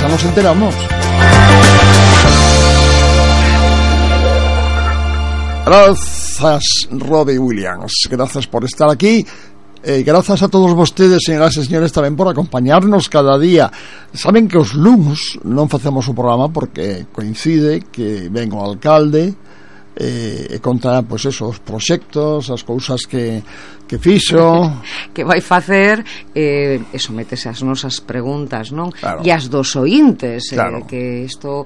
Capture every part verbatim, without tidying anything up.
xa nos enteramos. Gracias, Robbie Williams. Gracias por estar aquí. Eh, gracias a todos vostedes, señoras e señores, tamén por acompañarnos cada día. Saben que os luns non facemos o programa porque coincide que ven o alcalde eh, e conta, pois, eso, os proxectos, as cousas que, que fixo, que vai facer, eh, e sométese as nosas preguntas, non? Claro. E as dos ointes, Claro. eh, que isto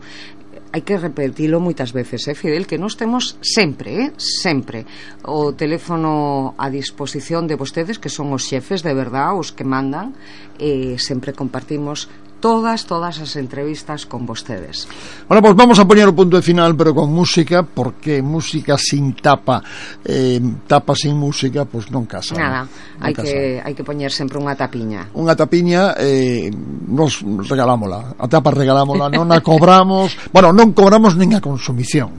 hai que repetilo moitas veces, eh, Fidel, que nós temos sempre, eh, sempre o teléfono a disposición de vostedes, que son os xefes de verdad, os que mandan, e sempre compartimos todas, todas as entrevistas con vostedes. Bueno, pues vamos a poner o punto de final, pero con música, porque música sin tapa, eh, tapa sin música, pues non casa. Nada, non hai casa. que hai que poñer sempre unha tapiña. Unha tapiña, eh, nos regalámola. A tapa regalámola, non a cobramos. Bueno, non cobramos nin a consumición.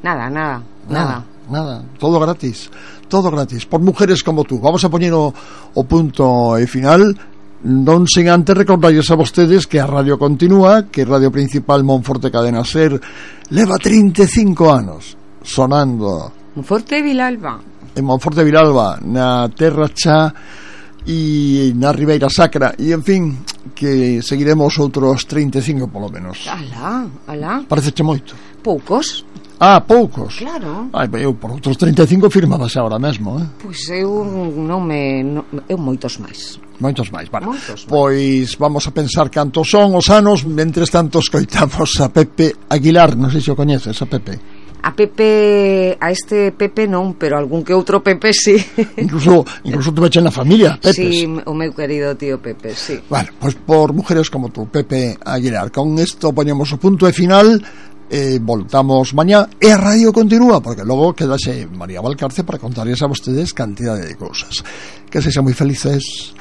Nada, nada, Nada, nada. nada, todo gratis. Todo gratis, por mujeres como tú. Vamos a poñer o, o punto e final. Non sen antes recordarles a vostedes que a radio continúa, que Radio Principal Monforte Cadena Ser leva trinta e cinco anos sonando Monforte Vilalba. en Monforte Vilalba, na Terra Chá e na Ribeira Sacra, e en fin, que seguiremos outros trinta e cinco polo menos. Alá, alá. Pareceche moito? Poucos. Ah, poucos. Claro. Ai, eu por outros trinta e cinco firmabas agora mesmo, eh? Pois eu non me non, eu moitos máis. Moitos máis, vale. Moitos máis. Pois vamos a pensar cantos son os anos. Mentres tanto escoitamos a Pepe Aguilar. Non sei se o coñeces, a Pepe. A Pepe, a este Pepe non, pero algún que outro Pepe sí. Incluso incluso tu veche na familia, Pepes. Sí, o meu querido tío Pepe, sí. Bueno, pois por mujeres como tú, Pepe Aguilar. Con isto poñemos o punto de final. Eh, voltamos mañá e a radio continúa, porque logo quedase María Valcarce para contarles a vostedes cantidade de cousas. Que sexan moi felices.